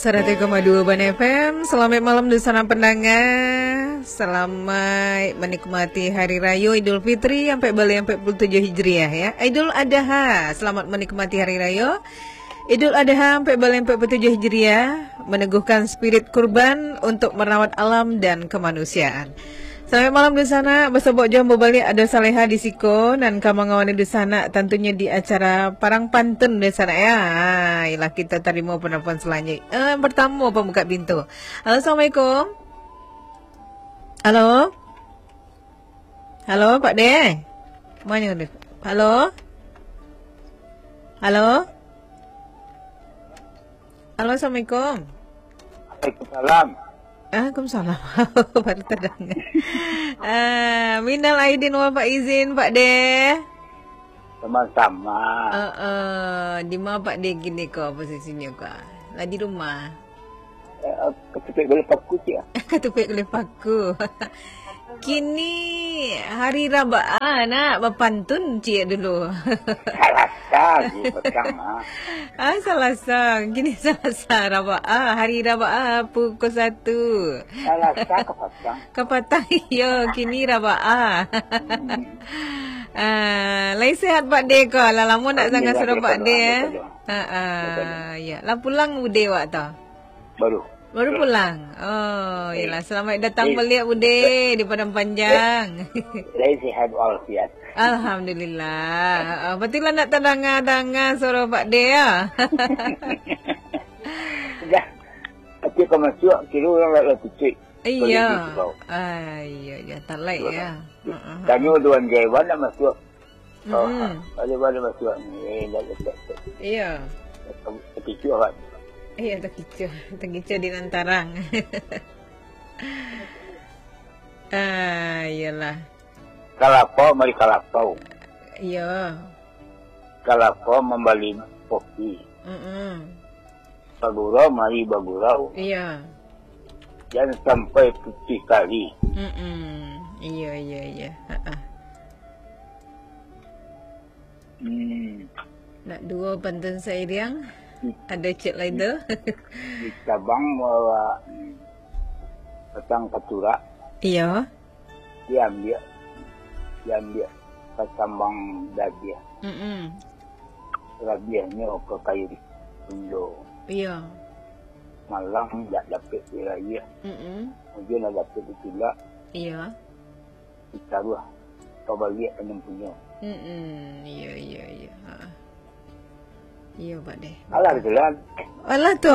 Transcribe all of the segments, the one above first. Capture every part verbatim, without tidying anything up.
Saratus koma dua Ban F M, salamaik malam dunsanak pandanga. Salamaik manikmati Hari Rayo Idul Fitri ampek baleh ampek puluah tujuah Hijriah, ya. Idul Adha, salamaik manikmati Hari Rayo Idul Adha ampek baleh ampek puluah tujuah Hijriah, maneguhkan spirit kurban untuk marawat alam dan kamanusiaan. Salamaik malam dunsanak, basobok jo ambo baliak ado Saleha di siko, nan ka mangawani dunsanak tantunyo di acara Parang Pantun dunsanak, ya. Ha, iyolah, kito tarimo penelpon selanjutnya. Eh, pertamo pambuka pintu. Halo, assalamualaikum. Halo? Halo, Pak De? Mano tu? Halo? Halo? Halo, assalamualaikum. Waalaikumsalam. Waalaikumsalam. Baru tadanga. Ah, minal aidin wal faizin, Pak De. Sama-sama. Eh, eh, di ma Pak De kini ko posisinyo ko? Lah di rumah? Eh, katutuik gulai paku, Cik, ah. Katutuik gulai paku. Kini hari Rabaa, nak bapantun ciek dulu. Salasa, Cik, petang, ah. Ah, Salasa. Kini Salasa, Rabaa. Hari Rabaa, pukul satu. Salasa ka patang. Ka patang, iyo. Kini Rabaa. Hmm. Ah, lai sehat Pak De ko? Lah lamo nak danga suaro Pak De, eh? Alhamdulillah, Pak De. Ha, ah, ya. Lah pulang Bude wak tu? Baru. Baru pulang. Oh, iyolah. Selamat datang baliak, Bude, di Padang Panjang. Lai sehat walafiat. Alhamdulillah. Ha, ah, patuiklah nak tadanga-danga suaro Pak De, ya. Dah. Tapi ka masuak, kiro urang lah, lah tutuik. Iyo. Ah, iyo, iyo. Talaik, ya. Ha, ah, ha. Tanyo Tuan Jaiwan nak masuak. Oh, mm-mm. Ada balik masuk ni. Eh, dah letak tu. Iya. Tapi cuak kan? Iya, takicuah. Takicuah di nan tarang. Ah, iyalah. Kalapau mari kalapau. Iya. Kalapau mambali kopi. Mm-mm. Bagurau mari bagurau. Iya. Jan sampai putih kari. Mm-mm. Iya, iya, iya. Ha-ah. Hmm. Nak duo pantun sairiang? Hmm. Ado cek lai tu? Di cabang bawa, hmm, batang katurak. Iyo. Diambiak, diambiak kacambang dagiah. Mm-mm. Rabiahnyo ka kairi punyo. Iyo. Malang dak dapek dirayah. Mm-mm. Ujuang dak dapek ditulak. Iyo. Ditaruah pabaliak ka nan punyo. Mm-mm. Iyo, iyo, iyo. Ha. Iyo, Pak De. Alah, itulah. Alah tu.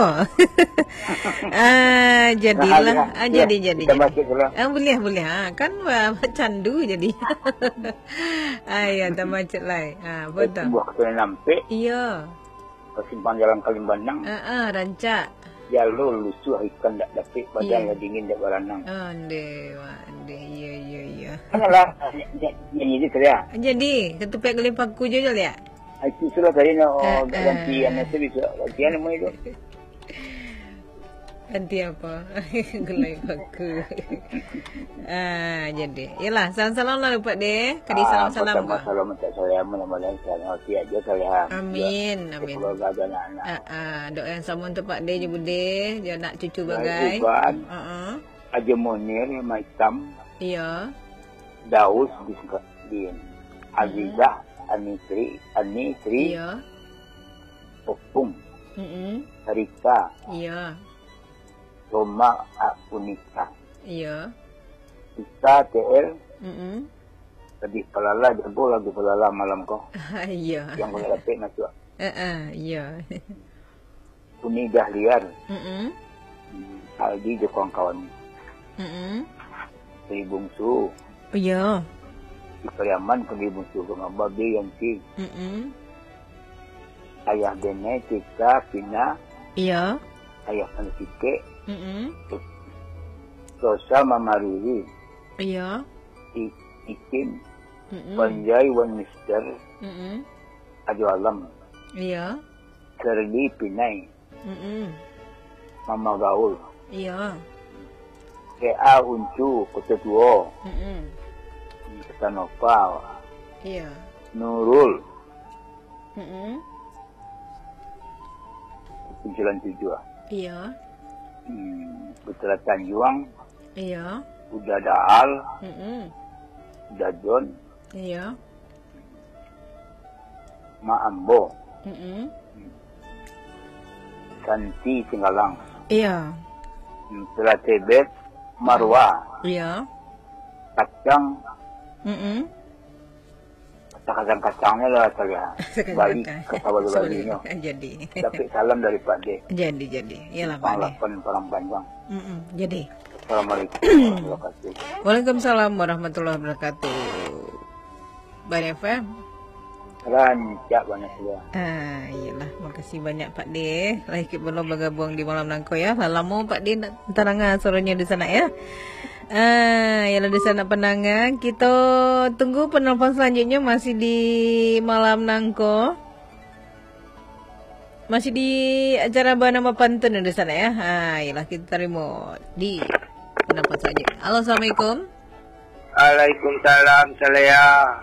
Ah, jadilah. Nah, ah, jadi, jadi, jadi. Tambah sikit lah. Ah, buliah, buliah. Ah, kan, ah, candu jadi. Ah, iyo, tambah sikit lai. Ah, apa tu? Tumbuah katurunan ampek. Iyo. Ka simpang jalan Kalimbanang. Ah, ah, rancak. Jalur lusuah ikan dak dapek, badan lah dingin dak baranang. Ondeh, wak, ondeh. Iyo, iyo, iyo. Alah, nyanyi, nyanyi je, Surya. Jadi, katutuik gulai paku je, je, liak. Ah, itu sudah tadi nak, oh, ganti, anu tu bisa. Ganti anu main tu. Ganti apa? Gulai paku. Ah, jadi. Yalah, salam-salam lah, Pak De. Kadi salam-salam. Ah, pertama, salam untuk saya, mudah-mudahan sehat walafiat je, Surya. Amin, amin. Keluarga dan anak-anak. Ah, ah, doa yang sama untuk Pak De je, Bude. Je anak cucu bagai. Iban, ah, ah. Haji Munir, Maitam. Iya. Daus di Singkadin. Hmm. Azizah, Anitri, Anitri. Iya. Opung. Mm-mm. Rika. Iya. Roma, a, Unika. Iya. Ika, T L. Mm-mm. Pedih palala, jago lagu palala malam ko. Iya. Yang ko dapek masuk. Heeh, iya. Uni Dahliar. Mm-mm. Aldi jo kawan-kawan. Mm-mm. Di Bungsu. Iya. Di Pariaman ka di Bungsu, ka Babe Yanti. Mm-mm. Ayah Bene, Tika, Pina. Iya. Ayah Pansikek. Mm-mm. Rosa, Mama Riri. Iya. I-, Ikin. Mm-mm. Panjai wan Mister. Mm-mm. Ajo Alam. Iya. Serdi Pinai. Mm-mm. Mama Gaul. Iya. K A Uncu, Kota Tuo. Mm-mm. Kota Nova. Iya. Nurul. Mm-mm. Kunculan Tujuah. Iya. Hmm, Putra Tanjuang. Iya. Uda Daal. Mm-mm. Uda John. Iya. Mak Ambo. Mm-mm. Santi Singgalang. Iya. Hmm, Putra Tebet, Marwa. Iya. Kacang. Mm-mm. Kacang-kacangnyo lah sajo. Bali, kata Bali-Balinyo. Jadi. Dapek salam dari Pak Dek. Jadi, jadi. Iyalah, Pak Dek. Lapan Padang Panjang. Mm-mm, jadi. Assalamualaikum warahmatullahi wabarakatuh. Waalaikumsalam warahmatullahi wabarakatuh. Bali F M. Rancak banyak sajo. Ah, iyalah. Makasih banyak, Pak Dek. Lah ikut balo bagabuang di malam nangko, ya. Lah lamo Pak Dek ndak taranga suaronyo di sana, ya. Ah, iyalah, di sana pandanga. Kita tunggu penelpon selanjutnya masih di malam nangko. Masih di acara Banama Pantun di sana, ya. Ha, iyalah, kita tarimo di penelpon selanjutnya. Halo, assalamualaikum. Waalaikumsalam, Saleh.